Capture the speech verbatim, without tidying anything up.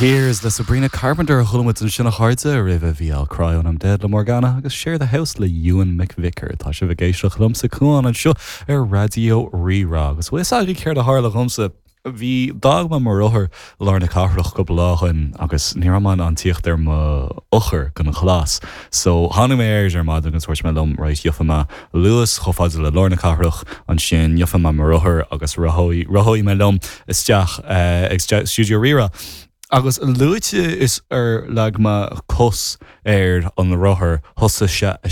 Tears le Sabrina Carpenter a chuala muid ansin a chairde roimhe bhí I'll Cry When I'm Dead le Morgana agus Share the House le Ewan McVicker tá sibh ag éisteacht liomsa Cuán anseo ar Raidió Rí-Rá agus bhfuil a fhios céard a tharla dhomsa Bhí d'fhág mé mo rothar i lár na cathrach cúpla lá ó shin agus ní raibh mé in ann tíocht ar mo eochair don ghlas. So tháinig mé air ar maidin agus dúirt mé liom right gheobhaidh mé Luas chomh fada le lár na cathrach ansin gheobhaidh mé mo rothar agus rachaidh mé liom isteach uh, ag Stiúideo Rí-Rá. Agus a luaithe is ar leag mé cos ar an rothar thosaigh sé a